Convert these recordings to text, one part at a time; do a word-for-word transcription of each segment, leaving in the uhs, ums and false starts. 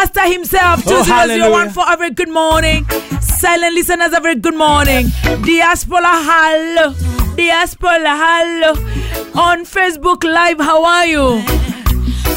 pastor himself. Oh, two zero zero one hallelujah. four, a very good morning. Silent listeners, a very good morning. Diaspora, hello. Diaspora, hello. On Facebook Live, how are you?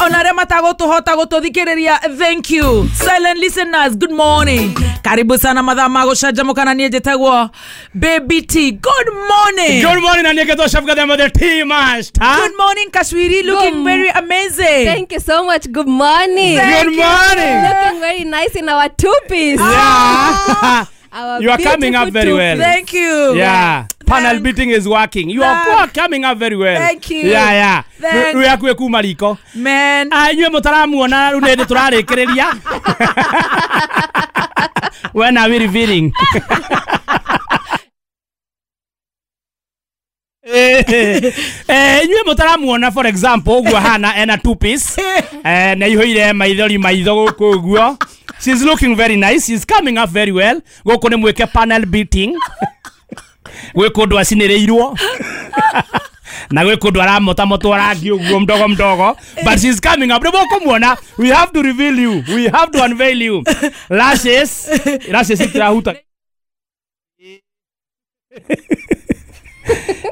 Ona arĩa matagũtũhota gũtũthikĩrĩria, thank you. Silent listeners, good morning. Karibu sana mathaa ma gũcanjamũka na niĩ njĩtagwo Baby T. Good morning. Good morning, na niĩ ngetwo Chef Gathema the Tea Master. Good morning, Kashwiri, looking Good- very amazing. Thank you so much. Good morning. Thank Good you. morning. Looking very nice in our two piece. Yeah. Our You are coming up beautiful very well. two-piece. Thank you. Yeah. Panel Thank- beating is working. You are Thank- coming up very well. Thank you. Yeah, yeah. Thank- Rä akuä kuma riko. Man. Ah, inyuä må taramuona rä u nä ndä tå rarä kä rä ria. When are we revealing? Eh, eh, inyuä må taramuona for example ũguo hana ena two piece eh, na ihũire maithori maitho gũkũ ũguo. She's looking very nice. She's coming up very well. Gũkũ nĩ mwĩke panel beating. Gwĩ kũndũ acinĩrĩirwo na gwĩ kũndũ aramotamotwo rangi ũguo mdogo mdogo, but she's coming up. Nĩ mũkũmuona. We have to reveal you. We have to unveil you. Lashes, lashes itirahuta.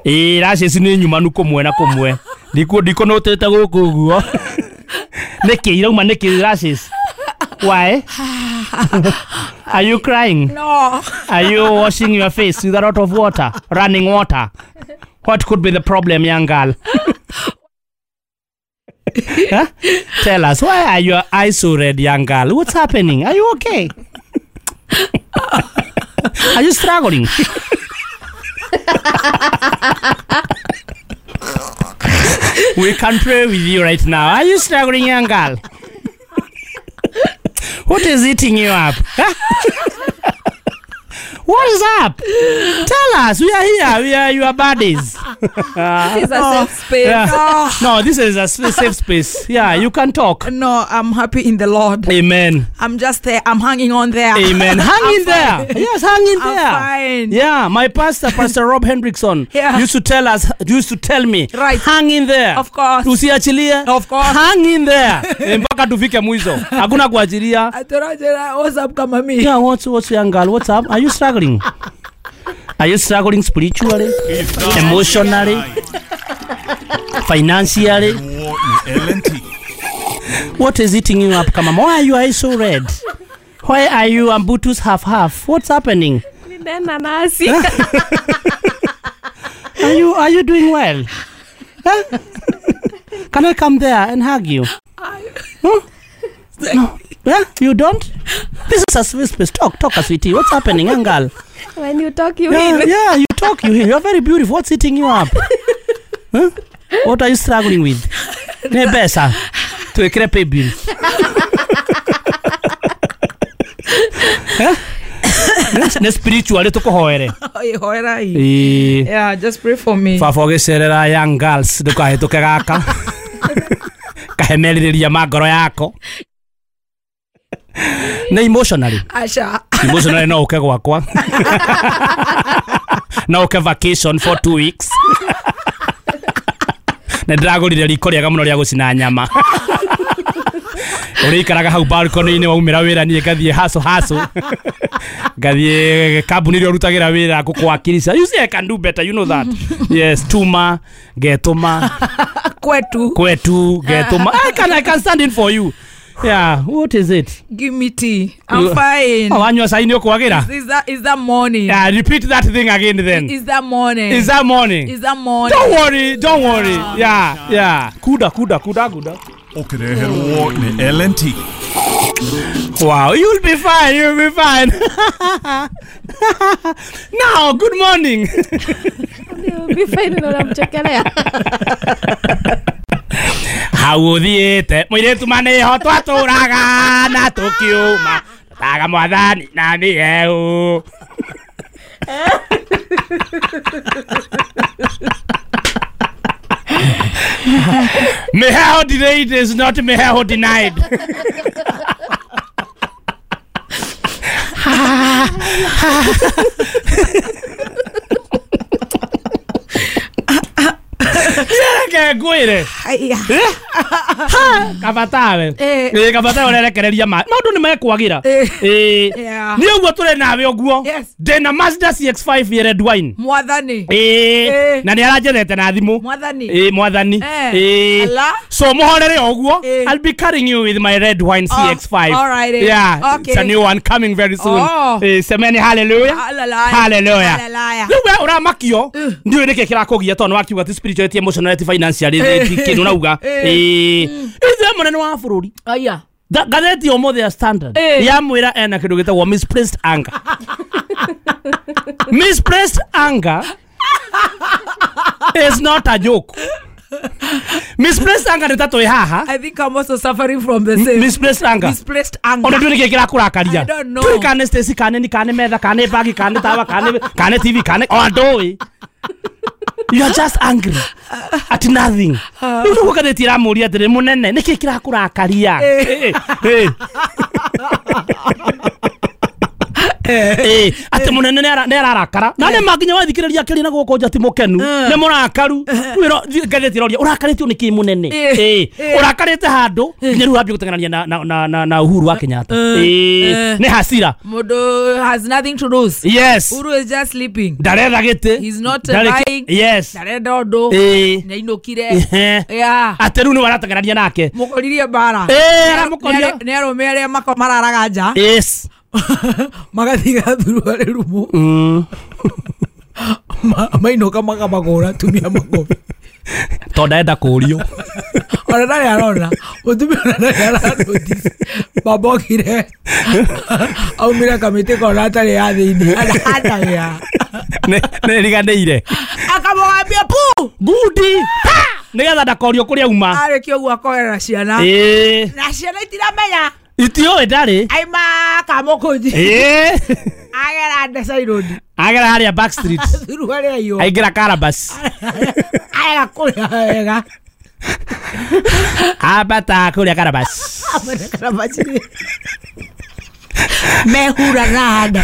Ĩ, lashes nĩ nyumanu kũmwe na kũmwe. Ndikũ ndikũnũtĩte gũkũ ũguo. Nĩkĩ irauma nĩkĩ lashes? Why are you crying? No. Are you washing your face with a lot of water, running water? What could be the problem, young girl? Huh? Tell us, why are your eyes so red, young girl? What's happening? Are you okay? Are you struggling? We can pray with you right now. Are you struggling, young girl? What is eating you up? What is up? Tell us. We are here. We are your buddies. This is a safe space. Yeah. Oh. No, this is a s- safe space. Yeah, you can talk. No, I'm happy in the Lord. Amen. I'm just there. I'm hanging on there. Amen. Hang in there. Yes, hang in I'm there. fine. Yeah, my pastor, Pastor Rob Hendrickson, Yeah. used to tell us, used to tell me, Right. hang in there. Of course. Usiachilie. Of course. Hang in there. Eh, mpaka tufike mwisho. Hakuna kuachilia. Atorajera, what's up kama mi? Yeah, what's what's young girl? What's up? Are you struggling? Are you struggling spiritually, emotionally, financially? What is eating you up, Kamama? Why are your eyes so red? Why are you ambutus half half? What's happening? Nenda nasi. Are you are you doing well? Huh? Can I come there and hug you? Huh? No. Yeah, you don't? This is a safe space. Talk, talk, sweetie. What's happening, young girl? When you talk, you Yeah, heal. yeah, you talk, you heal. You're very beautiful. What's eating you up? Huh? What are you struggling with? Nĩ mbeca twĩkĩre pay bill. Eh? Nĩ spiritually tũkũhoere. Hoera hii. Ĩĩ. Yeah, just pray for me. Baba ũgĩcerera young girls ndũkahĩtũke gaka kahe merirĩria ma ngoro yako. Nĩ emotionally. Asha. Emotionally no ũke gwakwa. No ũke vacation for two weeks. Nĩ ndĩragũrire riko rĩega mũno rĩa gũcina nyama. Ũrĩikaraga hau balcony-inĩ waumĩra wĩra niĩ ngathiĩ haso haso. Ngathiĩ kambuni ĩrĩa ũrutagĩra wĩra gũkwakirisha. You see I can do better, you know that. Yes, tuma, ngetũma, Kwetu. kwetu, ngetũma. I can I can stand in for you. Yeah, what is it? Give me tea. I'm You- fine. Oh, wanyua cai nĩ ũkwagĩra? Is that is that morning? Yeah, repeat that thing again then. Is that morning? Is that morning? Is that morning? Don't worry, don't worry. Yeah, yeah. Kuda, kuda, kuda, kuda. Ũkĩreherwo nĩ L and T. Wow, you'll be fine, you'll be fine. Now, good morning. You'll be fine na unamchekelea. Hau ũthiĩte mũirĩtu manĩho twatũraga na tũkiuma taga mwathani na mĩhehu. Mĩheho delayed is not mĩheho denied. Reke ngwĩre. Haya. Ha, kabatawe. Eh. Ĩ kabatawe ũrerekereria ma. Maũndũ nĩ mekwagira. Eh. Ĩ. Yeah. Nĩ ũguo tũrĩ nawe ũguo. Yes. Ndĩna Mazda C X five ya red wine. Mwathani. Ĩ. Eh. Na nĩ aranjethete na thimũ. Mwathani. Ĩ mwathani. Eh. Ĩ. Ala. So muhorere ũguo. Eh. I'll be carrying you with my red wine Oh, C X five. all right, eh. Yeah. Okay. It's a new one coming very soon. Oh. Eh, semeni hallelujah. Hallelujah. Hallelujah. Hallelujah. Rĩu we ũramakio ndiũĩ nĩkĩ kĩrakũgia tondũ wakiuga ti spirituality, emotionality, financially kĩndũ nauga. Eh. Ĩ. Ithuĩ mũnene wa bũrũri. Aya. Tha- Ngathĩti ũmũthĩ ya Standard Eh. yamwĩra ena kĩndũ gĩtagwo misplaced anger. Misplaced anger is not a joke. Misplaced anger nĩ ta twĩ haha. I think I'm also suffering from the same. Misplaced anger. Misplaced anger. Ona ndũĩ nĩkĩ kĩrakũrakaria. I don't know. Ndũĩ kana nĩ Stacy, kana nĩ kana nĩ metha, kana nĩ bagi, kana nĩ tawa, kana nĩ kana nĩ T V, kana ona ndũĩ. You are just angry at nothing. Rĩu nĩguo ngathĩti ĩramũria atĩrĩ mũnene nĩkĩ kĩrakũrakaria? Eh, eh. Eh, atĩ mũnene nĩ ararakara na nĩ ma nginya wathikĩrĩria akĩaria na gũkũ nja ti mũkenu nĩ mũrakaru. Rĩu ĩro- ngathĩti ĩroria ũrakarĩtio nĩ kĩ mũnene? Eh. Eh, Eh. ũrakarĩte handũ nginya rĩu wambia gũteng'erania na, na, na, na, na Uhuru wa Kenyatta. Eh, Eh. nĩ hasira. Mũndũ has nothing to lose. Yes. Uhuru is just sleeping. Ndaretha gĩtĩ. He's not Ndarĩ kĩ- buying. Yes. Ndarenda ũndũ. Eh. Nĩainũkire. Ehe. Yeah. Atĩ rĩu nĩwe arateng'erania nake. Mũkoririe mbara. Eh, aramũkoria. Nĩ arũme arĩa mako mararaga nja. Yes. Magathiĩ gathurwa rumu. Mm. Ma- mainũka makamagũra atumia makobi. Tondũ ndarenda kũũrio. Ona ndarĩ arona mũtumia ona ndarĩ aranotice. Baba okire aumire kamĩtĩ kona atarĩ ya thĩinĩ anagĩa Nĩ nĩ riganĩire. akamũgambia pu Ngundi. Pa! Nĩgetha ndakorio kũrĩa auma. arĩkia ũguo akoerera ciana Ĩĩ. na ciana itiramenya Itiũĩ ndarĩ. aima kamũkũnji Ĩĩ. agera ndecairũndi Agera harĩa back street. thuruarĩ aiywo Aingĩra Karabas. arega kũrĩa wega Ambata kũrĩa Karabas. amene karabacirĩ mehura na nda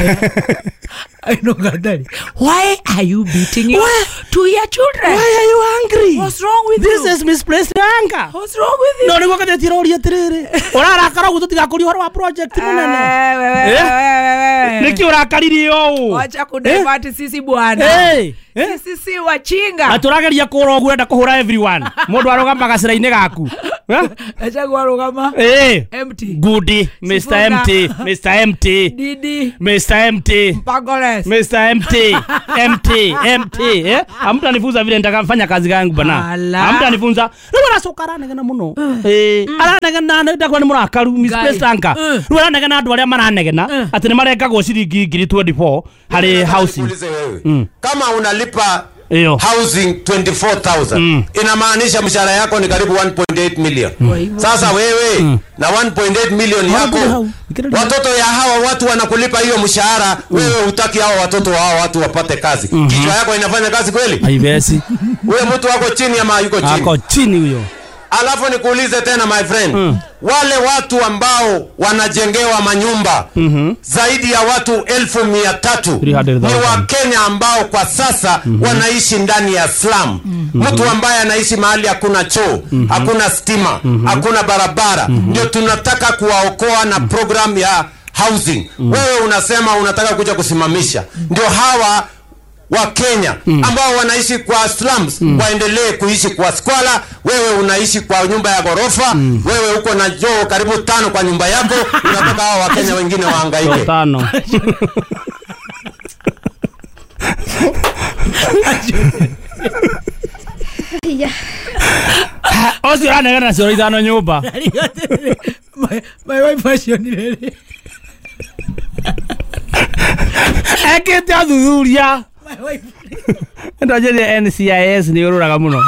ainũka ndarĩ. Why are you beating your two year children? Why are you angry? What's wrong with This you? is misplaced anger. What's wrong with you? No nĩguo ngathĩti ĩroria atĩrĩrĩ ũrarakara ũguo tũtigakũria ũhoro wa project mũnene. Eh, wewe, Eh? wewe, wewe. Nĩkĩ ũrakaririe ũũ? Wacha kudivert sisi bwana. Eh, eh. Sisi si wachinga. Atĩ ũrageria kũra ũguo ũrenda kũhũra everyone. Mũndũ arũgamaga gacĩra-inĩ gaku. Eh? Gachagua arũgama Eh. empty. Goody, Mister Sifuna. Empty, Mister Empty, Didi Mister Empty, Mpangores. Mister Empty, Empty, Empty, eh? Hamtanifunza vile nitakafanya kazi yangu bana. Ala. Hamtanifunza. Rĩu aracoka aranegena mũno. Eh, aranegena ndakwa nĩ mũrakaru misplaced anger. Mm. Rĩu aranegena andũ arĩa maranegena atĩ nĩ marengagwo ciringi ngiri twenty-four harĩ housing. Nikuulize wewe. Kama unalipa Iyo. housing twenty-four thousand inamaanisha mshahara yako ni karibu one point eight million. Sasa wewe na one point eight million yako, watoto ya hawa watu wanakulipa hiyo mshahara, wewe hutaki hawa watoto wa hawa watu wapate kazi. Kichwa yako inafanya kazi kweli? Haibesi. Huyo mtu wako chini ama yuko chini? Ako chini huyo. Alafu nikuulize tena my friend, mm. wale watu ambao wanajengewa manyumba mm -hmm. zaidi ya watu elfu mia tatu ni Wakenya ambao kwa sasa mm -hmm. wanaishi ndani ya slum. Mm -hmm. Mtu ambaye anaishi mahali hakuna choo, mm -hmm. hakuna stima, mm -hmm. hakuna barabara. Mm -hmm. Ndio tunataka kuwaokoa na program ya housing. Mm -hmm. Wewe unasema unataka kuja kusimamisha. Ndio hawa wa Kenya mm. ambao wanaishi kwa slums mm. waendelee kuishi kwa squalor. Wewe unaishi kwa nyumba ya ghorofa, mm. wewe uko na joo karibu tano kwa nyumba yako, unataka hao wa Kenya wengine wahangaike. Tano. Osi anegena cioro ithano nyumba. My, my wife acionire. Ekete athuthuria. Ndojerie N C I S ni ururaga muno.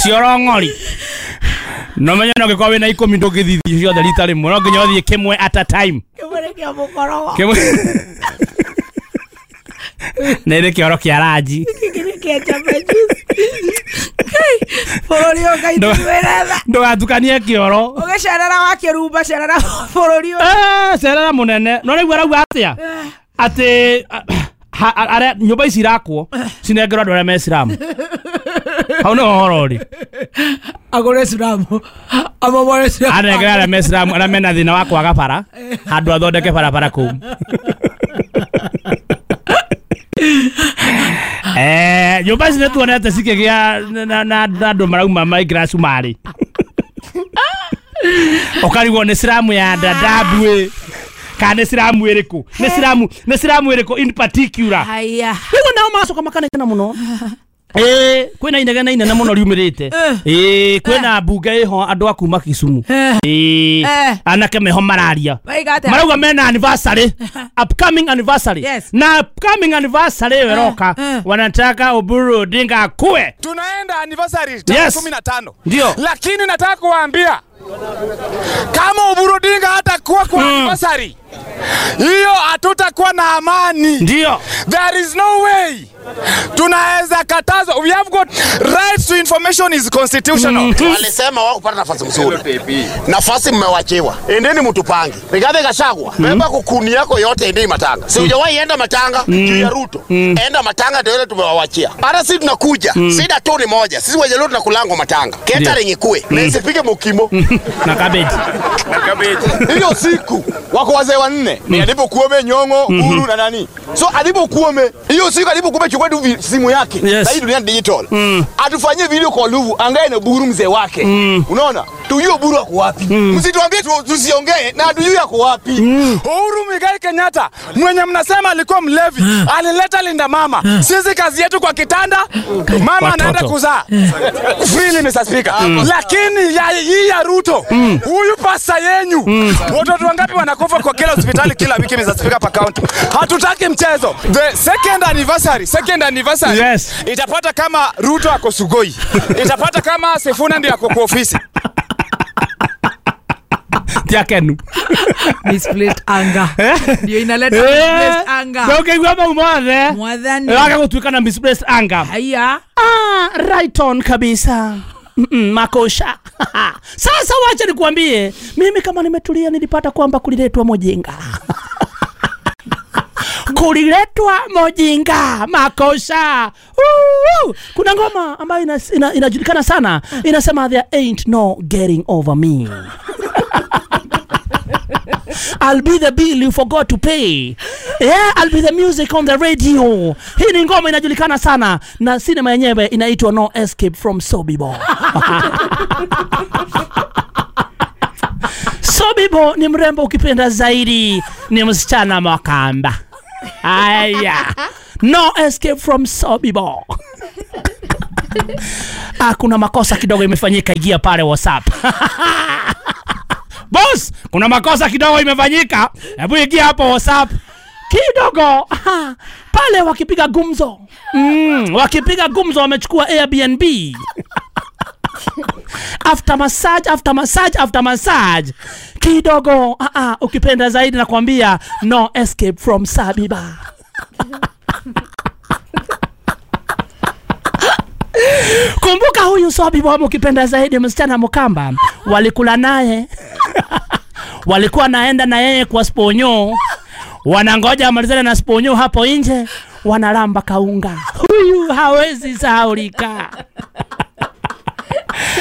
Cioro ng'ori. No menya no gikorwo wina ikumi ndungithithi ciothe rita rimwe, no nginya uthie kimwe at a time. Kimwe kia mukorogo. Kimwe. Nĩ kĩoro kĩa ranji. Gĩkĩ kĩa chapa juice. Bũrũri ũyũ Ngai tuwĩre. Ndũgatukanie kĩoro. Ũgĩcerera wa kĩrumba, cerera bũrũri ũyũ. Eh, cerera mũnene. No rĩu arauga atĩa? Atĩ Aria nyumba ici irakwo cinengerwo andu aria me Islamu. Hau niho ũhoro ũrĩ. Agũre Islamu. Amomore Islamu. Anengere aria me Islamu aria mena thĩna wa kwaga bara handũ athondeke barabara kũu. Eh, nyũmba ici nĩtuonete cikĩgĩa na andũ marauma maingĩra cumarĩ. Ũkarigwo nĩ Islamu ya Dadaab kana nĩ Islamu ĩrĩkũ? Nĩ Islamu, nĩ Islamu ĩrĩkũ in particular? Haya. Rĩu nao macoka makanegena mũno. Eh, kwĩna inegene inene mũno riumĩrĩte. Eh, kwĩna mbunge ĩho andũ a kuma Kisumu. Eh, anake meho mararia. Marauga mena anniversary, upcoming anniversary. Yes. Na upcoming anniversary ĩyo ĩroka wanataka Oburu Odinga akue. Tunaenda anniversary tarehe kumi na tano. Ndio. Lakini nataka kuwaambia kama Oburu Odinga hatakuwa kwa anniversary hiyo hatutakuwa na amani. Ndio. There is no way tunaweza katazwa. We have got right to information is constitutional. Mm-hmm. Walisema wao kupata nafasi mzuri. Nafasi mmewachiwa. Endeni mtupange. Rigathi Gachagua, beba mm-hmm. kukuni yako yote endeni Matanga. Si hujawahi enda Matanga mm-hmm. juu ya Ruto. Mm-hmm. Enda Matanga ndio ile tumewawachia. Hata sisi tunakuja. Mm-hmm. Sida tu ni moja. Sisi wajaluo tunakulango Matanga. Catering ikue. Mm-hmm. Na isipike mukimo. Na cabbage. Na cabbage. Hiyo siku wako wazee wanne. Ni alipokuome Nyong'o, Uhuru na nani. So alipokuome hiyo siku alipokuome chukua tu simu yake. Yes. Sasa dunia digital. Mm. Atufanyie video kwa Luvu angae na Oburu mzee wake. Mm. Unaona? Tujue Oburu ako wapi. Mm. Msituambie tusiongee na tujue ako wapi. Mm. Uhuru Muigai Kenyatta mwenye mnasema alikuwa mlevi, alileta Linda Mama. Sisi kazi yetu kwa kitanda, mama anaenda kuzaa. Freely Mister Speaker. Mm. Lakini ya hii ya Ruto, mm. huyu pasta yenyu, mm. watoto wangapi wanakufa kwa kila hospitali kila wiki Mister Speaker pa county. Hatutaki mchezo. The second anniversary, second anniversary. Yes. Itapata kama Ruto ako Sugoi. Itapata kama Sifuna ndiye ako kwa ofisi. Tiakenu. Misplaced anger. Ndio inaleta misplaced anger. Ndio kaigua mau mothe. Mwathani. Waka gutuika na misplaced anger. Haya. Ah, right on kabisa. Mm -mm, makosha. Sasa wacha nikuambie, mimi kama nimetulia nilipata kwamba kuliletwa mojinga. Kuliletwa mojinga, makosha. Uu, kuna ngoma ambayo ina, ina, inajulikana sana, inasema there ain't no getting over me. I'll be the bill you forgot to pay. Yeah, I'll be the music on the radio. Hii ni ngoma inajulikana sana na sinema yenyewe inaitwa No Escape from Sobibor. Sobibor ni mrembo ukipenda zaidi, ni msichana Makamba. Aya. No Escape from Sobibor. Ah, kuna makosa kidogo imefanyika, ingia pale WhatsApp. Boss, kuna makosa kidogo imefanyika. Hebu ingia hapo WhatsApp. Kidogo. Aha. Pale wakipiga gumzo. Mm, wakipiga gumzo wamechukua Airbnb. After massage, after massage, after massage. Kidogo. Ah ah, ukipenda zaidi nakwambia No Escape from Sabiba. Kumbuka huyu Sabiba ukipenda zaidi msichana Mukamba walikula naye. Walikuwa naenda na yeye kwa sponyo. Wanangoja amalizane na sponyo hapo nje, wanalamba kaunga. Huyu hawezi sahaulika.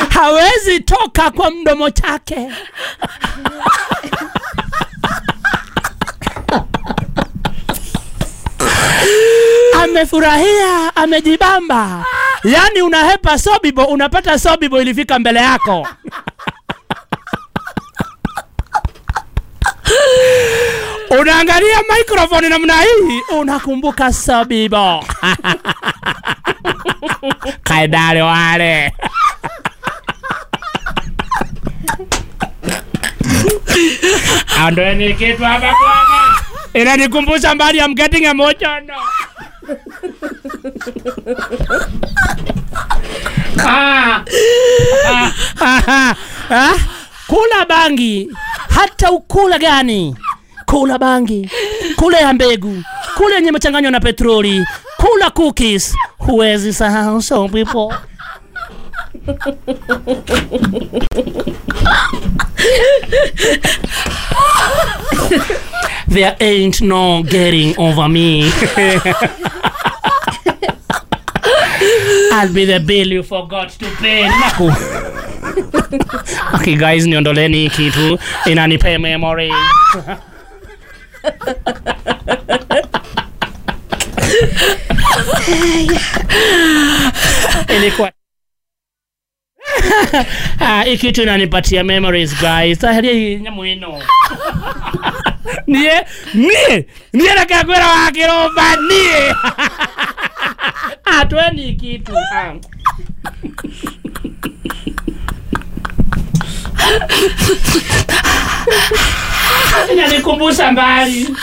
Hawezi toka kwa mdomo chake. Amefurahia, amejibamba. Yani unahepa Sobibo, unapata Sobibo ilifika mbele yako. Unaangalia microphone namna hii, unakumbuka Sobibo. Kaidale wale. Andoeni kitu hapa bwana. Inanikumbusha mbali, I'm getting emotional. Ah. Ah. Ah. Ah. Kula bangi, hata ukula gani? Kula bangi, kula ya mbegu, kula yenye mchanganywa na petroli, kula cookies, huwezi sahau some people. There ain't no getting over me. I'll be the bill you forgot to pay. Naku. Okay guys, niondoleni kitu inanipe memory. Ilikuwa ah, hii kitu inanipatia memories guys. Taheria nyamu ino. Nie, nie, nie reke ngwira wa kiromba nie. Atweni kitu. Ah. Inanikumbusha mbali.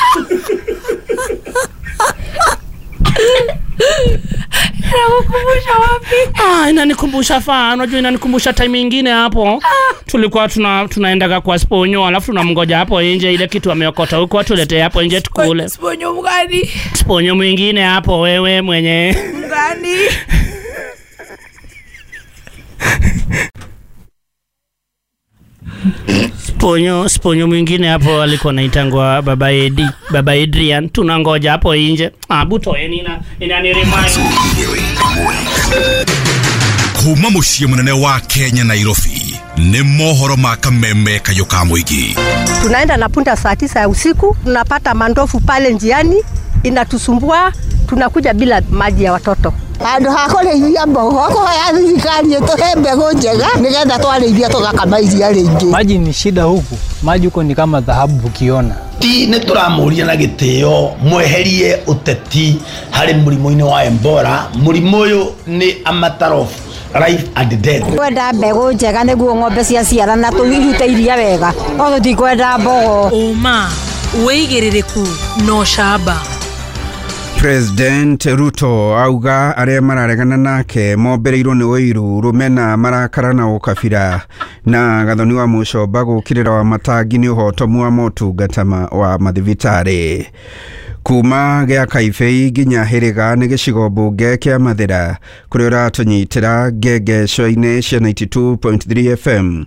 Inakukumbusha wapi? Ah, inanikumbusha faa, unajua inanikumbusha time nyingine hapo. Tulikuwa tuna tunaendaga kwa sponyo, alafu tunamngoja hapo nje ile kitu ameokota huko atuletee hapo nje tukule. Sponyo mgani? Sponyo mwingine hapo wewe mwenye. Mgani? Sponyo, sponyo mwingine hapo alikuwa anaitangwa Baba Edi, Baba Adrian, tunangoja hapo nje. Ah, buto ina inani remind. Kuma muciĩ mũnene wa Kenya Nairobi nĩ mohoro ma kameme kayũ ka mũingĩ. Tunaenda na punda saa tisa ya usiku, tunapata mandofu pale njiani, inatusumbua, tunakuja bila maji ya watoto. Handũ ha kũrĩithia mbogo kũhoya thirikari ĩtũhe mbegũ njega nĩgetha twarĩithia tũgakama iria rĩingĩ. Maji ni shida huku, maji huko ni kama dhahabu ukiona. Ti nĩ tũramũria na gĩtĩo mweherie ũteti harĩ mũrimũ-inĩ wa Ebola. Mũrimũ ũyũ nĩ a matter of life and death. Kwenda mbegũ njega nĩguo ng'ombe ciaciarana tũirute iria wega, no tũtikwenda mbogo. Ũma, wĩigĩrĩrĩku na ũcamba. President Ruto auga arĩa mararegana nake mombereirwo nĩ ũiru rũmena marakara na ũkabira na Gathoni wa Mũcomba gũkĩrĩra wa matangi nĩ ũhotomu wa motungata wa mathibitarĩ. Kuma gĩa Kaibei nginya Hĩrĩga nĩ gĩcigo mbunge kĩa Mathĩra kũrĩa ũratũnyitĩra ngengeco-inĩ cia ninety two point three F M.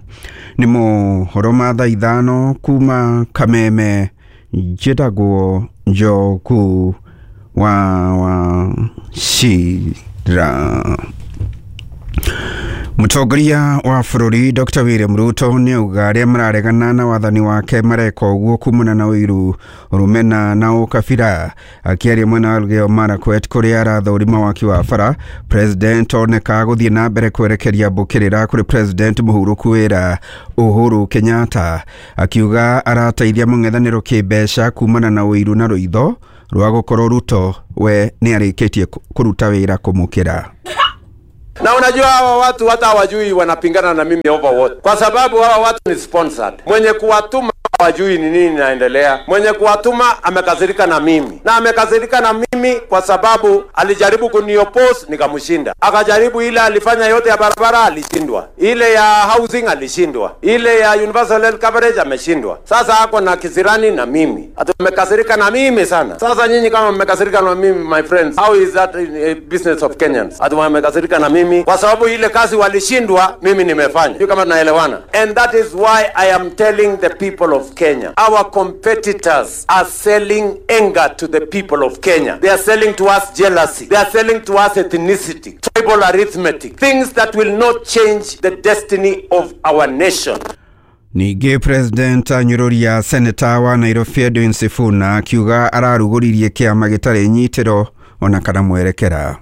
Nĩ mohoro ma thaa ithano kuma Kameme, njĩtagwo Njoku wa wa Shira. Mũtongoria wa bũrũri Doctor William Ruto nĩ auga arĩa mararegana na wathani wake mareka ũguo kumana na ũiru rũmena na ũkabira. Akĩaria mwena wa Elgeyo Marakwet kũrĩa arathũrima waki wa bara, President oneka gũthiĩ na mbere kwerekeria mbũkĩrĩra kũrĩ President mũhurũku wĩra Uhuru Kenyatta, akiuga arateithia mũng'ethanĩro kĩmbeca kumana na ũiru na rũitho rwa gũkorwo Ruto we nĩ arĩkĩtie kũruta wĩra kũmũkĩra. Na unajua hawa watu hata hawajui wanapingana na mimi over what, kwa sababu hawa watu ni sponsored. Mwenye kuwatuma hawajui ni nini inaendelea. Mwenye kuwatuma amekasirika na mimi, na amekasirika na mimi kwa sababu alijaribu kunioppose nikamshinda. Akajaribu ile alifanya yote ya barabara alishindwa, ile ya housing alishindwa, ile ya universal health coverage ameshindwa. Sasa ako na kisirani na mimi, ati amekasirika na mimi sana. Sasa nyinyi kama mmekasirika na mimi, my friends, how is that a business of Kenyans? Ati wamekasirika na mimi kwa sababu ile kazi walishindwa, mimi nimefanya. Sio kama tunaelewana? And that is why I am telling the people of Kenya, our competitors are selling anger to the people of Kenya. They are selling to us jealousy. They are selling to us ethnicity, tribal arithmetic, things that will not change the destiny of our nation. Ningĩ President anyũrũria Senator wa Nairobi Edwin Sifuna akiuga ararugũririe kĩama gĩtarĩ nyitĩro ona kana mwerekera.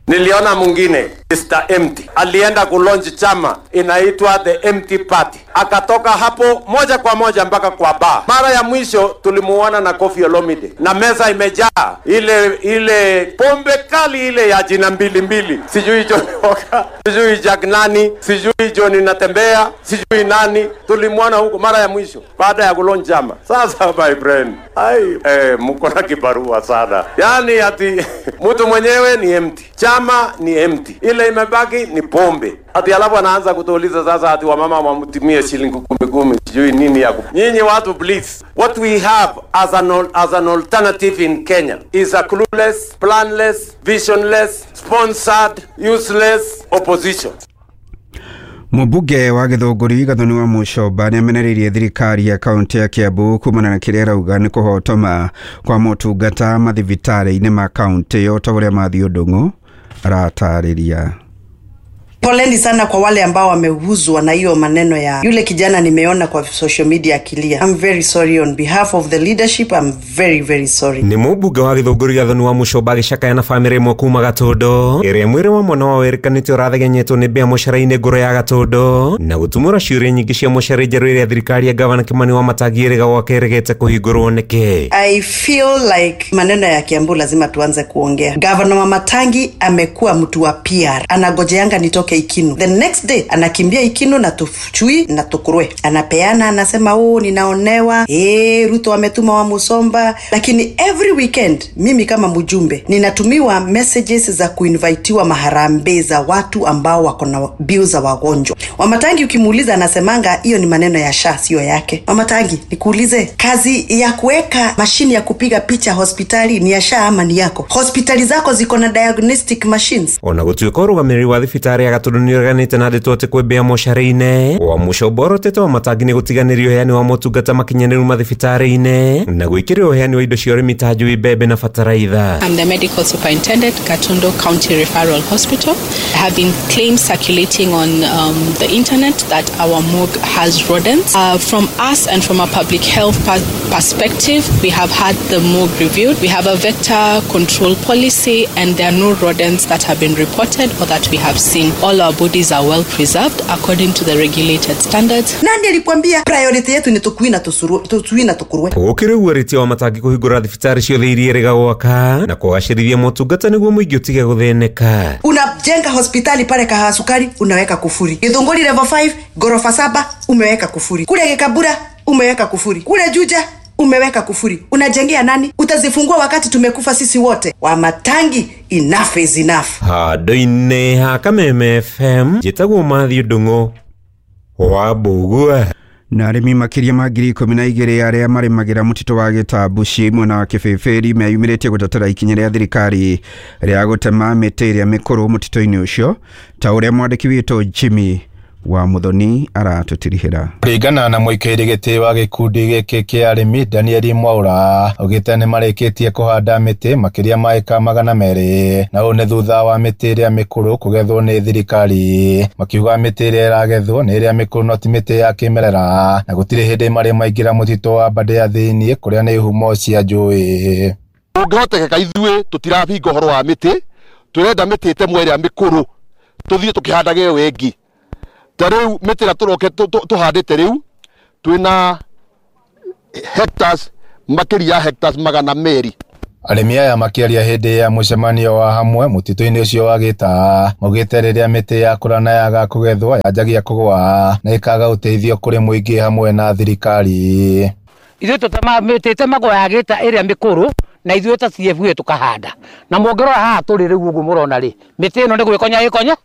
Niliona mwingine Mister Empty alienda kulaunch chama inaitwa The Empty Party, akatoka hapo moja kwa moja mpaka kwa bar. Mara ya mwisho tulimuona na Koffi Olomide na meza imejaa ile ile pombe kali ile ya jina mbili mbili, sijui John Walker, sijui Jack nani, sijui John Natembea, sijui nani. Tulimuona huko mara ya mwisho baada ya kulaunch chama. Sasa my friend, ai eh, mko na kibarua sana. Yani ati mtu mwenyewe ni empty, chama ni empty, ile imebaki ni pombe. Ati alafu anaanza kutuuliza sasa ati wamama wamtumie shilingi kumi kumi, sijui nini ya. Nyinyi watu please, what we have as an as an alternative in Kenya is a clueless, planless, visionless, sponsored, useless opposition. Mũmbunge wa Gĩthũngũri Gathoni wa Mũcomba nĩamenereirie thirikari ya kaunti ya Kiambu kumana na kĩrĩa arauga nĩ kũhotoma kwa motungata mathibitarĩ-inĩ ma kaunti ĩyo ta ũrĩa Mathiũ Ndung'u aratarĩria. Poleni sana kwa wale ambao wameuzwa na hiyo maneno ya yule kijana nimeona kwa social media akilia. I'm very sorry on behalf of the leadership. I'm very very sorry. Ni mũmbunge wa Gĩthũngũri Gathoni wa Mũcomba agĩcakaya na bamĩrĩ ĩmwe kuma Gatũndũ ĩrĩa mwĩrĩ wa mwana wao wĩrĩkanĩte ũrathegenyetwo nĩ mbĩa mũcara-inĩ ngũrũ ya Gatũndũ na gũtumũra ciũria nyingĩ cia mũcara njerũ ĩrĩa thirikari ya gavana Kimani Wamatangi ĩrĩga gwake ĩregete kũhingũrwo nĩkĩ. I feel like maneno ya Kiambu lazima tuanze kuongea. Governor Wamatangi amekuwa mtu wa P R. Anagojeanga nitoke Ikinu. The next day anakimbia Ikinu na tuchui na tukurwe. Anapeana, anasema oh ninaonewa, eh Ruto ametuma wa Musomba. Lakini every weekend mimi kama mjumbe ninatumiwa messages za kuinvitiwa maharambee za watu ambao wako na bills za wagonjwa. Wamatangi ukimuuliza anasemanga hiyo ni maneno ya sha sio yake. Wamatangi nikuulize, kazi ya kuweka mashini ya kupiga picha hospitali ni ya sha ama ni yako? Hospitali zako ziko na diagnostic machines. Ona gũtuĩka ũrũgamĩrĩri wa thibitarĩ ya Gatũndũ nĩũreganĩte na ndeto atĩ kwĩ mbĩa mocarĩ-inĩ wa Mũcomba ũrotete Wamatangi nĩ gũtiganĩria ũheani wa motungata makinyanĩru mathibitarĩ-inĩ na gwĩkĩrĩra ũheani wa indo cia ũrĩmi ta njui, mbembe na bataraitha. I'm the medical superintendent, Gatundu County Referral Hospital. There have been claims circulating on um, the internet that our morgue has rodents. Uh, from us and from a public health perspective, we have had the morgue reviewed. We have a vector control policy and there are no rodents that have been reported or that we have seen. All our bodies are well preserved according to the regulated standards. Nani alikwambia priority yetu ni tukui na tusuru, tukui na tukurwe? Gũkĩrĩ ũguo rĩtia Wamatangi kũhingũra thibitarĩ ciothe iria ĩrĩga gwaka na kũgacĩrithia motungata nĩguo mũingĩ ũtige gũthĩnĩka. Unajenga hospitali pale Kahasukari unaweka kufuri. Githunguri level five gorofa saba umeweka kufuri. Kule Gikabura umeweka kufuri. Kule Juja umeweka kufuri. Unajengea nani? Utazifungua wakati tumekufa sisi wote. Wamatangi, enough is enough. Handũ-inĩ ha Kameme F M njĩtagwo Mathiũ Ndung'u wa Mbũgua. Na arĩmi makĩria ma ngiri ikũmi na igĩrĩ arĩa marĩmagĩra mũtitũ wa Gĩtambuci mwena wa Kĩbĩbĩri meyumĩrĩtie gũtetera ikinya rĩa thirikari rĩa gũtema mĩtĩ ĩrĩa mĩkũrũ mũtitũ-inĩ ũcio ta ũrĩa mwandĩki witũ Jimmy wa Muthoni aratũtirihĩra. Kũringana na mũikairi gĩtĩ wa gĩkundi gĩkĩ kĩa arĩmi Daniel Mwaura augĩte nĩ marĩkĩtie kũhanda mĩtĩ makĩria ma ĩka magana merĩ na ũũ nĩ thutha wa mĩtĩ ĩrĩa mĩkũrũ kũgethwo nĩ thirikari. Makiuga mĩtĩ ĩrĩa ĩragethwo nĩ ĩrĩa mĩkũrũ no ti mĩtĩ ya kĩmerera na gũtirĩ hĩndĩ marĩ maingĩra mũtitũ wa Mbandĩa thĩinĩ kũrĩa nĩ ihumo cia njũĩ. Ũngĩhotekeka ithuĩ tũtirabinga ũhoro wa mĩtĩ, tũrenda mĩtĩ ĩtemwo ĩrĩa mĩkũrũ tũthiĩ tũkĩhandage ĩyo ĩngĩ. Ta rĩu mĩtĩ ĩrĩa tũroke tũhandĩte rĩu twĩna hectares makĩria ya hectares magana merĩ. Arĩmi aya makĩaria hĩndĩ ya mũcemanio wa hamwe mũtitũ-inĩ ũcio wa Gĩtaa maugĩte rĩrĩa mĩtĩ yakũra na yaga kũgethwo yanjagia kũgũa na ĩkaga ũteithio kũrĩ mũingĩ hamwe na thirikari. Ithuĩ tũtemaga mĩtĩ ĩtemagwo ya Gĩtaa ĩrĩa mĩkũrũ na ithuĩ ta C F U tũkahanda na mũngĩrora haha tũrĩ rĩu ũguo mũrona rĩ mĩtĩ ĩno nĩ gwĩkonya ĩkonya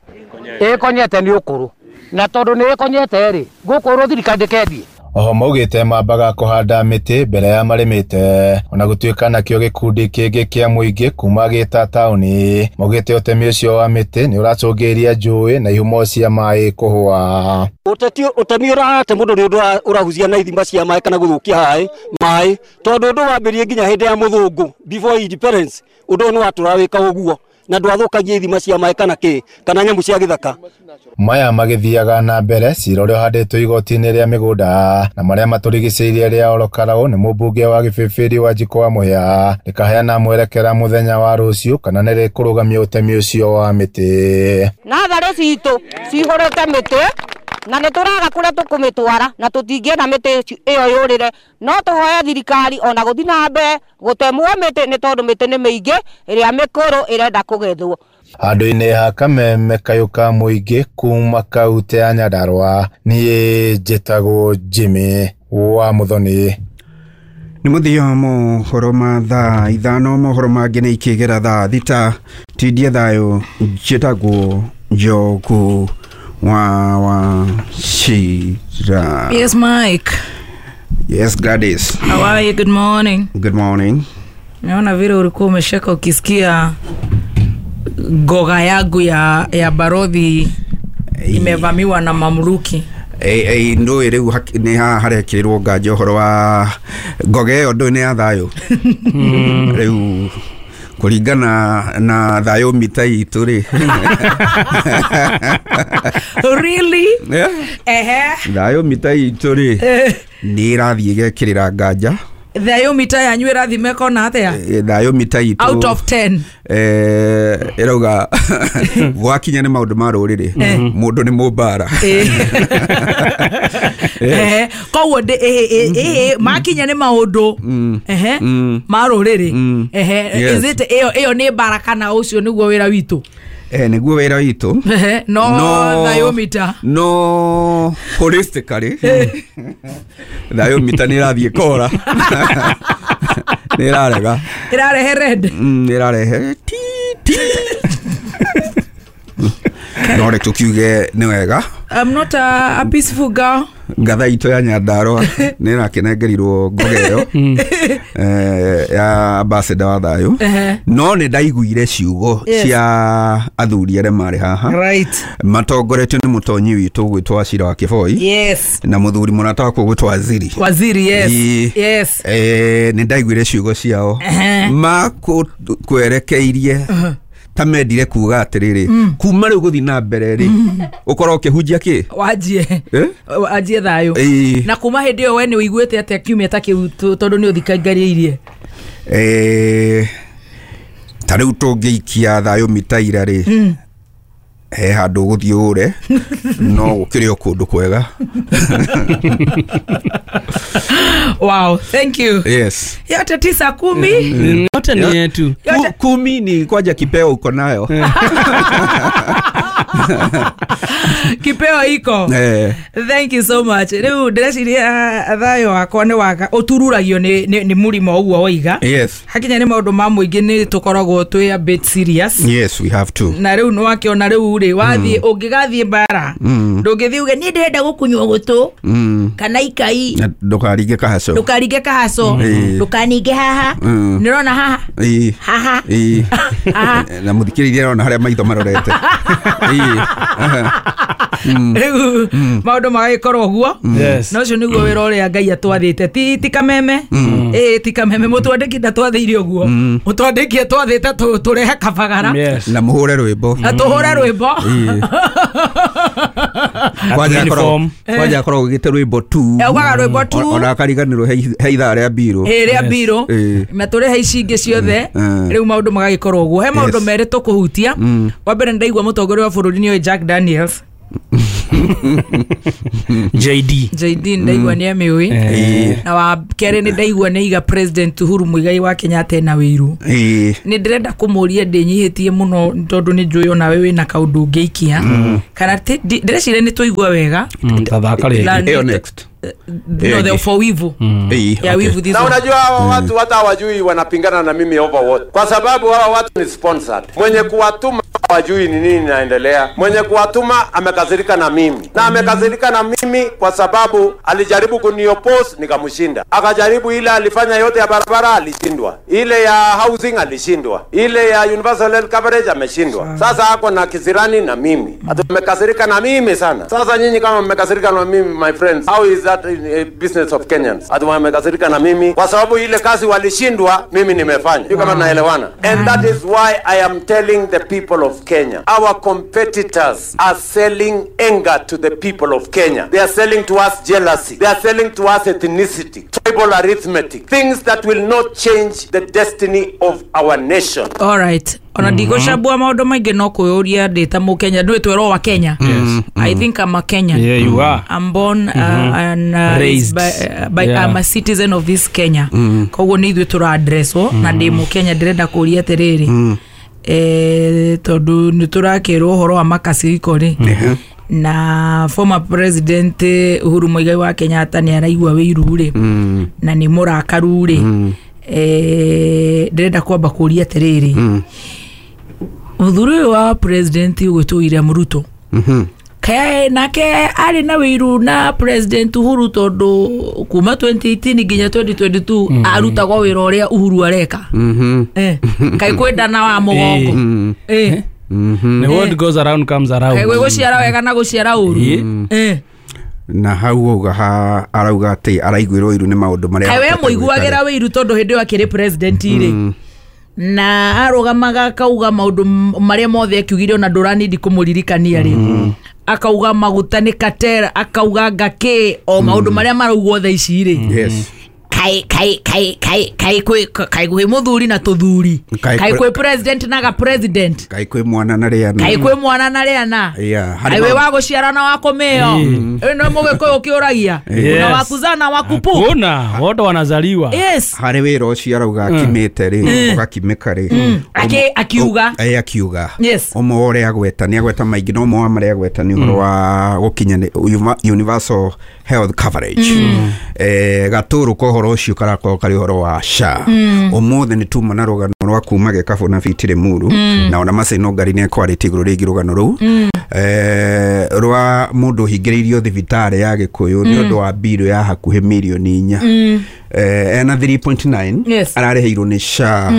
ĩkonyete nĩ ũkũrũ na tondũ nĩ ĩkonyete rĩ gũkũrũ thirikari ndĩkendie. Oho maugĩte mambaga kũhanda mĩtĩ mbere ya marĩmĩte ona gũtuĩka nakĩo gĩkundi kĩngĩ kĩa mũingĩ kuma Gĩtaa taũni maugĩte ũtemi ũcio wa mĩtĩ nĩ ũracũngĩrĩria njũĩ na ihumo cia maĩ kũhũa. Ũteti ũtemi ũrate mũndũ nĩ ũndũ ũrahucia na ithima cia maĩ kana gũthũkia haĩ maĩ tondũ ũndũ wambĩrĩrie nginya hĩndĩ ya mũthũngũ before independence ũndũ ũyũ nĩ watũra wĩka ũguo na ndwathũkagia ithima cia maĩ kana kĩ kana nyamũ cia gĩthaka. Maya magĩthiaga na mbere cira ũrĩa ũhandĩtwo igoti-inĩ rĩa mĩgũnda na marĩa matũrigicĩirie rĩa Olokarau nĩ mũmbunge wa Gĩbĩbĩri Wanjikũ wa Mũhĩa rĩkaheana mwerekera mũthenya wa rũciũ kana nĩ rĩkũrũgamia ũtemi ũcio wa mĩtĩ. Natharĩ citũ cihũrĩte mĩtĩ na nĩ tũraga kũrĩa tũkũmĩtwara na tũtingĩenda mĩtĩ ĩyo yũrĩre no tũhoe thirikari ona gũthiĩ na mbere gũtemwo mĩtĩ nĩ tondũ mĩtĩ nĩ mĩingĩ ĩrĩa mĩkũrũ ĩrenda kũgethwo. Handũ-inĩ ha Kameme kayũ ka mũingĩ kuma kaunti ya Nyandarua niĩ njĩtagwo Jimmy wa Muthoni. Nĩ mũthia wa mohoro ma thaa ithano mohoro mangĩ nĩ ikĩgera thaa thita tindie thayũ njĩtagwo Njogu wa wa Shira. Yes, Mike. Yes, Gladys. How are you? Good morning. Good morning. Naona vile ulikuwa umesheka ukisikia goga yangu ya ya barodhi Imevamiwa na mamluki. Eh ndũĩ rĩu nĩ haha harekĩrĩrwo nganja ũhoro wa ngoge ĩyo ndũĩ nĩ ya thayũ. Rĩu kũringana na thayũ mita itũ rĩ. Really? Yeah. Ehe. Thayũ mita itũ rĩ nĩ ĩrathiĩ ĩgekĩrĩra nganja. Thayũ mita yanyu ĩrathiĩ mekona atĩa? Thayũ mita itũ out of ten. Eh ĩrauga gwakinya nĩ maũndũ ma rũrĩrĩ mũndũ nĩ mũmbara. Eh koguo eh makinya nĩ maũndũ ehe ma rũrĩrĩ ehe is it ĩyo ĩyo nĩ mbara kana ũcio nĩguo wĩra witũ? Eh nĩguo wĩra witũ. No thayũ mita no holistically thayũ mita nĩ ĩrathiĩ kora. Nĩ ĩrarega. Ĩrarehe red. Nĩ ĩrarehe ti ti. No reke tukiuge nĩ wega. I'm not a, a peaceful girl. Ngatha itũ ya Nyandarua nĩ ĩrakĩnengerirwo ngoge ĩyo eh ya ambassador wa thayũ. No nĩ ndaiguire ciugo cia athuri arĩa marĩ haha. Right. Matongoretio nĩ mũtonyi witũ gwĩtwo Wachira wa Kĩboi. Yes. Na mũthuri mũrata wakwa gwĩtwo Waziri. Waziri, yes. Yes. Eh nĩ ndaiguire ciugo ciao makwerekeirie ta mendire kuga atiriri kuma riu guthi na mbere ri ukorwo ukihunjia ki wanjie wanjie thayo na kuma hindi yo we ni uiguite atia kiumia ta kiu tondu ni uthikangariirie eh ta riu tungiikia thayo mitaira ri he handu guthii ure no gukiri o kundu kwega. Wow, thank you. Yes. Yote tisa kumi. Yote ni yetu. Kumi ni kwaja kipeo uko nayo. Kipeo iko. Eh. Thank you so much. Riu ndĩreciria thayo wakwa nĩ waga ũtururagio nĩ nĩ mũrimo ũguo woiga. Yes. Hakinya nĩ maũndũ ma mũingĩ nĩ tũkoragwo twĩ a bit serious. Yes, we have to. Na rĩu nĩwakĩona rĩu rĩ wathiĩ ũngĩgathiĩ mbara ndũngĩthiĩ uge niĩ ndĩrenda gũkunywo gũtũ kana ikai ndũkaringe kahaco ndũkaringe kahaco ndũkaninge haha nĩrona haha haha na mũthikĩrĩria arona harĩa maitho marorete. Rĩu maũndũ magagĩkorwo ũguo na ũcio nĩguo wĩra ũrĩa Ngai atwathĩte ti ti kameme ĩĩ ti kameme mũtwandĩki ndatwathĩire ũguo mũtwandĩki atwathĩte tũrehe kabagara na mũhũre rwĩmbo na tũhũre rwĩmbo kwanja akoragwo ũgĩte rwĩmbo tu augaga rwĩmbo tu ona akariganĩrwo he ithaa rĩa mbirũ ĩĩ rĩa mbirũ na tũrehe ici ingĩ ciothe rĩu maũndũ magagĩkorwo ũguo he maũndũ merĩ tũkũhutia wa mbere nĩndaigua mũtongoria wa bũrũri nĩoĩ Jack Daniels J D J D ndaigua nĩ amĩũĩ na wa kerĩ nĩ ndaigua nĩ iga President Uhuru Muigai wa Kenyatta ena wĩiru nĩ ndĩrenda kũmũria ndĩnyihĩtie mũno tondũ nĩ njũĩ onawe wĩna kaũndũ ũngĩikia kana ndĩreciria nĩ tũigua wega tathaka rĩngĩ ĩyo next no the for wivu ya wivu this. Na unajua hawa watu hata hawajui wanapingana na mimi over what, kwa sababu hawa watu ni sponsored. Mwenye kuwatuma hawajui ni nini inaendelea. Mwenye kuwatuma amekasirika na mimi, na amekasirika na mimi kwa sababu alijaribu kunioppose nikamshinda. Akajaribu ile alifanya yote ya barabara alishindwa, ile ya housing alishindwa, ile ya universal health coverage ameshindwa. Sasa ako na kisirani na mimi, amekasirika na mimi sana. Sasa nyinyi kama mmekasirika na mimi, my friends, how is that in business of Kenyans? Ati wamekasirika na mimi kwa sababu ile kazi walishindwa, mimi nimefanya. Sio kama naelewana? And that is why I am telling the people of Kenya, our competitors are selling anger to the people of Kenya. They are selling to us jealousy. They are selling to us ethnicity, tribal arithmetic, things that will not change the destiny of our nation. All right. Ona ndigũcambua maũndũ maingĩ no kwĩyũria ndĩ ta mũkenya ndũĩ twerwo wa Kenya. Yes. I think I'm a Kenyan. Yeah, you are. I'm born uh, mm-hmm. and uh, raised by, uh, by yeah. I'm a citizen of this Kenya. Mm. Koguo nĩ ithuĩ tũra addresswo mm. na ndĩ mũkenya ndĩrenda kũria atĩrĩrĩ mm. eh tondũ nĩ tũrakĩrwo ũhoro wa makasiriko rĩ mm-hmm. na former president Uhuru Muigai wa Kenyatta nĩ araigua wĩiru rĩ mm. na nĩ mũrakaru rĩ mm. eh ndĩrenda kwamba kũria atĩrĩrĩ mm. mũthuri ũyũ wa president ũgwĩtwo William Ruto mm-hmm. kae nake arĩ na wĩiru na president Uhuru tondũ kuma twenty eighteen nginya twenty twenty-two mm. arutagwo wĩra ũrĩa Uhuru areka mm-hmm. eh kaĩ kwendana wa mũgongo mm. eh Nĩ what goes around comes around. Kaĩ gwĩ gũciara wega na gũciara ũru. Eh. Na hau auga ha arauga atĩ araiguĩrwo iru nĩ maũndũ marĩa Kaĩ we ahotete mũiguagĩra gwĩka. wĩiru tondũ hĩndĩ ĩyo akĩrĩ president rĩ na arũgamaga akauga maũndũ m- marĩa mothe akiugire ona ndũranindi kũmũririkania rĩ, akauga maguta nĩ katera, akauga ngakĩ o maũndũ marĩa maraugwo thaa ici rĩ. Yes. Kai kai kai kai kai kwĩ kai kwĩ mũthuri na tũthuri, Kai kai kwĩ- kwĩ president na ga president, Kaĩ kwĩ mwana na rĩana. Kai kwĩ mwana na rĩana. Yeah, harĩ Kai wĩ maũndũ- wa gũciara na wa kũmĩo ĩno mũgĩkũyũ kĩũragia Yes. na wa kuzaa na wa kupu. Hakuna, wote wanazaliwa. Yes. Harĩ wĩra ũcio arauga akimĩte rĩ, ũgakimĩka rĩ. Aki- akiuga. Ĩ, akiuga. Yes. Ũmwe wa ũrĩa agweta nĩ agweta maingĩ, no ũmwe wa marĩa agweta nĩ ũhoro wa gũkinya universal health coverage. Eh, gatũrũ ka ũhoro ũcio karakorwo karĩ ũhoro wa SHA. Ũmũthĩ nĩ tuma na rũgano rwa kuma Gĩkabũ na Fitiri Muru, na ona Macaino Ngari nĩ ekwarĩtie igũrũ rĩgiĩ rũgano rũu eh, rwa mũndũ ũhingĩrĩirio thibitarĩ ya Gĩkũyũ nĩ ũndũ wa mbirũ ya hakuhĩ mirioni inya. Eh, ena three point nine. Yes. Ararĩhĩirwo nĩ SHA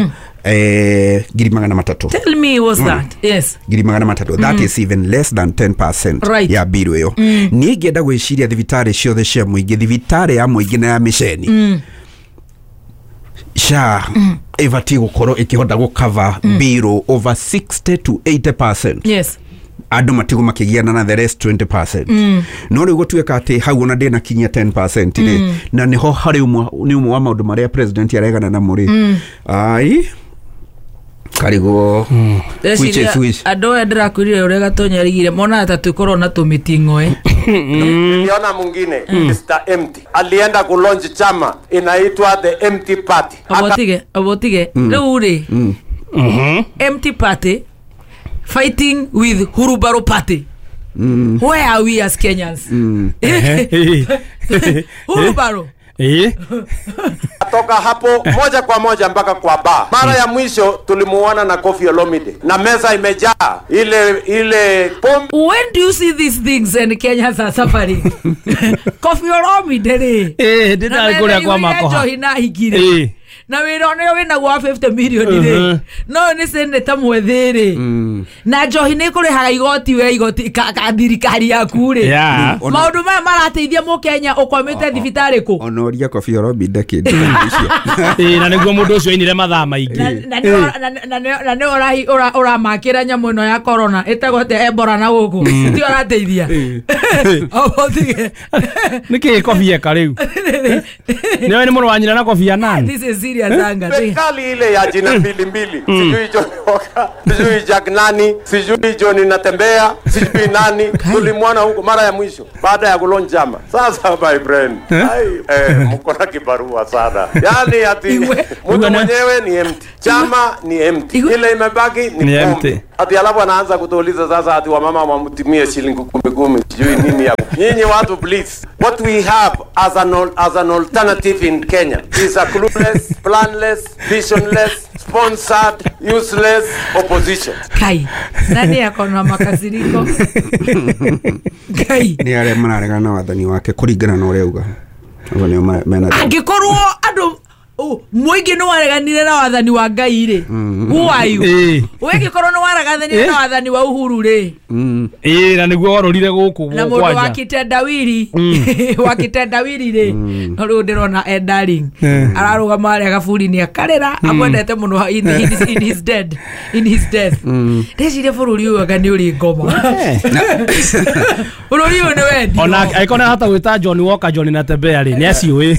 eh, ngiri magana matatũ. Tell me what's that? Yes. Ngiri magana matatũ, that is even less than ten percent Right. ya mbirũ ĩyo. Niĩ ingĩenda gwĩciria thibitarĩ ciothe cia mũingĩ, thibitarĩ ya mũingĩ na ya mĩceni, SHA ĩbatiĩ gũkorwo ĩkĩhota gũcover mbirũ over sixty to eighty percent. Yes. Andũ matigwo makĩgiana na the rest twenty percent. No rĩu gũtuĩka atĩ hau ona ndĩnakinyia ten percent rĩ, na nĩho harĩ ũmwe nĩ ũmwe wa maũndũ marĩa president aregana namo rĩ, ai karigwo which is which. Andũ aya ndĩrakwĩrire ũrĩa Gatonya arigire monaga ta twĩkorwo na tũmĩting'oe. Niliona mwingine Mister Empty alienda kulaunch chama inaitwa the Empty Party. Obotige obotige rĩu rĩ, Empty Party fighting with Hurubaro Party. Where are we as Kenyans? Hurubaro. Eh? Toka hapo moja kwa moja mpaka kwa bar. Mara ya mwisho tulimuona na Koffi Olomide na meza imejaa ile ile pombe. When do you see these things and Kenyans are suffering? Koffi Olomide rĩ. Eh, ndĩrarĩ kũrĩa kwa makoha. Njohi na hingire. Eh. Na wĩra ũrĩa wĩnaguo wa fifty million rĩ, no nĩ seneta mwĩthĩ rĩ, na njohi nĩ kũrĩhaga igoti we igoti ka, ka thirikari yaku rĩ. Yeah. Maũndũ maya marateithia mũkenya ũkwamĩte thibitarĩ kũ? Ona ũria Koffi Olomide kĩndũ icio. Ĩ, na nĩguo mũndũ ũcio ainire mathaa maingĩ. Na nĩ na na nĩ ũrahi ũramakĩra nyamũ ĩno ya corona ĩtagwo atĩa, Ebola na gũkũ ti ũrateithia. Obotige. Nĩkĩ Koffi eka rĩu? Nĩwe nĩ mũrũ wa nyina na Koffi Annan. This is serious anger. Serikali ile ya jina mbili mbili, sijui John Walker, sijui Jack nani, sijui John Natembea, sijui nani, tulimwona huko mara ya mwisho baada ya kulonja chama. Sasa my friend, ai eh, mko na kibarua sana. Yaani ati mtu mwenyewe ni empty, chama ni empty, ile imebaki ni empty. Ati alafu anaanza kutuuliza sasa ati wamama wamtumie shilingi kumi kumi, sijui nini hapo. Nyinyi watu please, what we have as an as an alternative in Kenya is a clueless, planless, visionless, sponsored, useless opposition. Kai, nani akona makasiriko? Kai. Ni arĩa mararegana na wathani wake kũringana na ũrĩa auga. Ũguo nĩo mena. Angĩkorwo andũ mũingĩ nĩ wareganire na wathani wa Ngai rĩ, who are you? Wĩngĩkorwo nĩ wareganire na wathani wa Uhuru rĩ, ĩ, na nĩguo warorire gũkũ na mũndũ wa kitendawiri wa kitendawiri rĩ, no rĩu ndĩrona Ed Darling ararũgama harĩa gaburi-inĩ akarĩra amwendete mũno in his, in his dead in his death. Ndeciria bũrũri ũyũ anga nĩ ũrĩ ngoma. Bũrũri ũyũ nĩ wendi. Ona angĩkorwo nĩ arahota gwĩta John Walker John Natembea rĩ, nĩ aciũĩ.